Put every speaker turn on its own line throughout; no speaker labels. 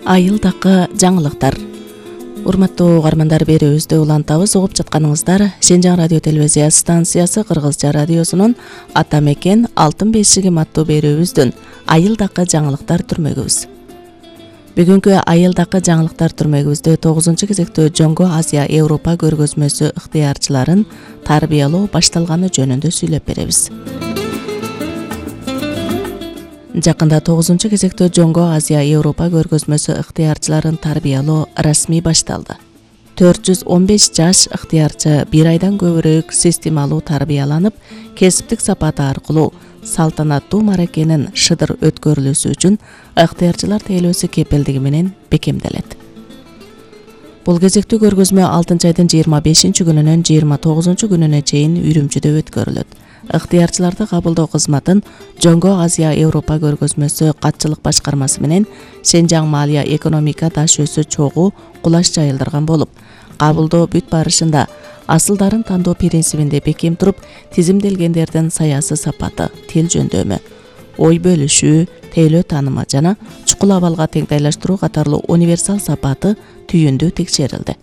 Айылдакы жаңылыктар. Урматтуу угармандар, берүүбүздү улантабыз. Угуп жатканыңыздар Шенжаң радио телевизия станциясы Кыргызча радиосунун Ата мекен алтын бешигим аттуу берүүбүздүн Айылдакы жаңылыктар түрмөгүбүз. Бүгүнкү Айылдакы жаңылыктар түрмөгүбүздө 9 кезектөө Жоңго Азия Европа көргөзмөсү ыктыярчыларын тарбиялоо башталганы жөнүндө сүйлөп беребиз. Жакында 9 кезектөө Жоңго Азия Европа көргөзмөсү ыктыярчыларын тарбиялоо расмий башталды. 415 жаш ыктыярчы бир айдан көбүрөөк системалуу тарбияланып, кесиптик сапаты аркылуу салтанаттуу маракенин шыдыр өткөрүлүшү үчүн ыктыярчылар тейлөөсү кепилдиги менен бекемделет. Бул кезектүү көргөзмө 6 айдын 25 күнүнөн 29 күнүнө чейин Үрүмчүдө өткөрүлөт. Ыктыярчыларды кабылдоо кызматын Жоңго Азия Европа көргөзмөсү катчылык башкармасы менен Шенжаң Малия экономика таш өсү чогуу кулаш жайылдырган болуп, кабылдоо бүт барышында асылдарын тандоо принцибинде бекем туруп, тизимделгендердин саясий сапаты, тил жөндөмү, ой бөлүшүү, тейлөө таанымы жана чукул абалга теңдейлештирүү катарлуу универсал сапаты түйүндүү текшерилди.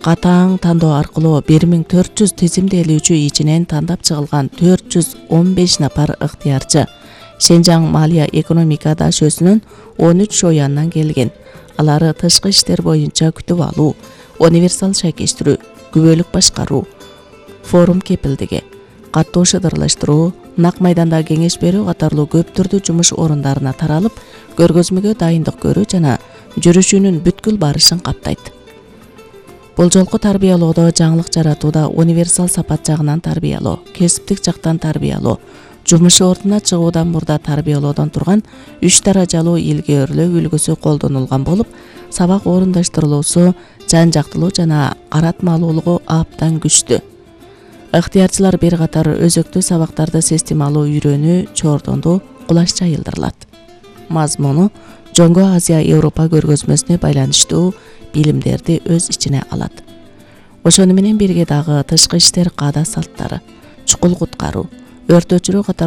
Катаң тандоо аркылуу 1400 тизимделүүчү ичинен тандап чыгылган 415 напар ыктыярчы Шенжаң Малия экономика таш өсүнүн 13 шоянынан келген. Алары тышкы иштер боюнча күтүп алуу, универсал шайкештирүү, күбөлүк башкаруу, форум кепилдиги, каттоо шыдырлаштыруу, нак майданда кеңеш берүү катарлуу көп түрдүү жумуш орундарына таралып, көргөзмөгө дайындык көрүү жана жүрүшүүнүн бүткүл барышын каптайт. Бул жолку тарбиялоодо жаңылык жаратууда универсал сапат жагынан тарбиялоо, кесиптик жактан тарбиялоо, жумуш ордуна чыгуудан мурда тарбиялоодон турган 3 даражалуу илгөөрлөө үлгүсү колдонулган болуп, сабак орундаштырылуусу жан жактылуу жана каратмалуулугу абдан күчтүү. Ыктыярчылар бир катар өзөктүү сабактарды системалуу үйрөнүү чордонду кулаш жайылдырылат. Мазмуну Жоңго Азия Европа көргөзмөсүнө байланыштуу билимдерди өз ичине алат. Ошону менен бирге дагы тышкы иштер каада салттары, чукул куткаруу, өрт өчүрүү катарлуу